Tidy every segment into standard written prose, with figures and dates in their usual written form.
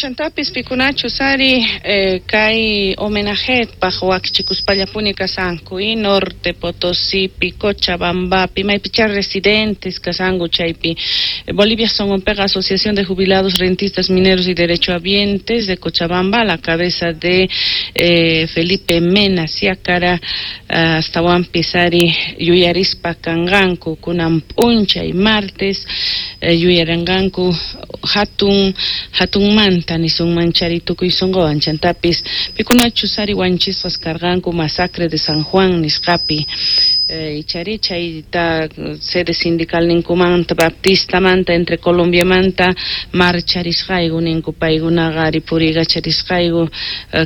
Chantapis pikunachus ari kay homenajetpaj wakichikuspallapuni kasanku y Norte Potosípi, Cochabambapi, maypichá residentes kasanku chaypi. Bolivia Songonpeqa Asociación de Jubilados, Rentistas, Mineros y Derechohabientes de Cochabamba, a la cabeza de Felipe Mena Siacara, astawanpis ari yuyarispa kanqanku kunan p'unchay martes, yuyaranqanku hatun hatunmanta nisunman chari tukuy sunquwan, chantapis pikunachus ari wanchisqas karqanku masacre de San Juan nisqapi, ichari chayta sede sindical ninkumanta Baptistamanta entre Colombiamanta marcharisqayku ninku paykunaqa ari puriykacharisqayku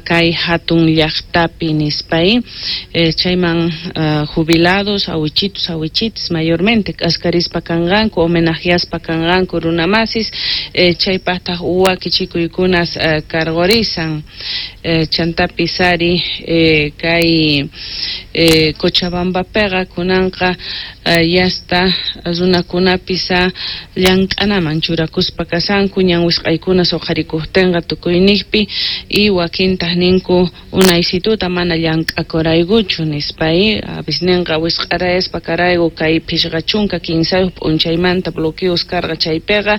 kay hatun llaqtapi nispay, chayman jubilados, awichitos, awichitas mayormente k'askarispa kanqanku, homenajeaspa kanqanku runamasis, chaypaqtaq wakichikuykunas karqurisan. Chantapis ari kay Cochabambapiqa kunanqa yasta runakunapis llank'anaman churakuspa kasanku, ñan wisq'aykuna suqharikuqtinqa tukuyniqpi, y wakintaq ninku unaysituta mana llank'akuraykuchu nispa, avisninqa wisq'arayaspa karayku kay 53 p'unchaymanta bloqueos karqa chaypiqa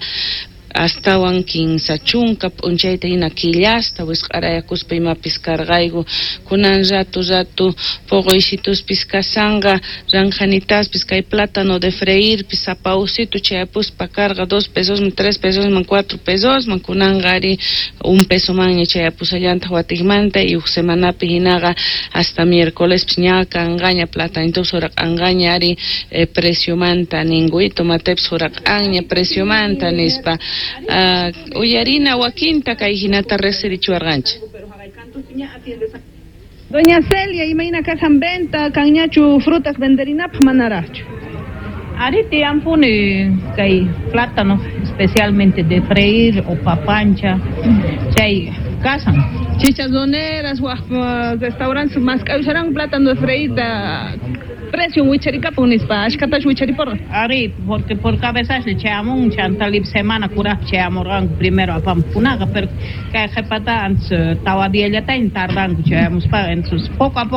astawan 30 p'unchayta hina killasta wisq'arayakuspa imapis karqayku, kunan ratu ratu poqoysituspis kasanqa, ranjanitaspis kay plátano de freirpis sapawsitu chayapuspa karqa 2 pesosman, 3 pesosman, 4 pesosman, kunanqa ari 1 pesomanña chayapusallantaq watikmanta, y huk semanapi hinaqa hasta miércolespis ña kanqaña platanitupis huraq'anqaña ari preciomanta ninku, y tomatepis huraq'anña preciomanta nispa. Uyarina wakinta kay hinata riqsirichiwarqanchik. Doña Celia, imayna kasan venta, kanñachu frutas venderinapaq manaraqchu? Ari tiyampuni kay plátano, especialmente de freír o papancha, chay kasan. Chicharroneras, waj restaurantes mask'ayusharan plátano de freírta precio wicharikapun nispa, ashkatash wichariporqa. Ari, porque por cabeza le chayamun, chantalip semana kuraj chayamurqanku primero apamkunaqa, pero kay qhipata antes tawa diallataña tardanku chayamuspa, entonces poco a poco.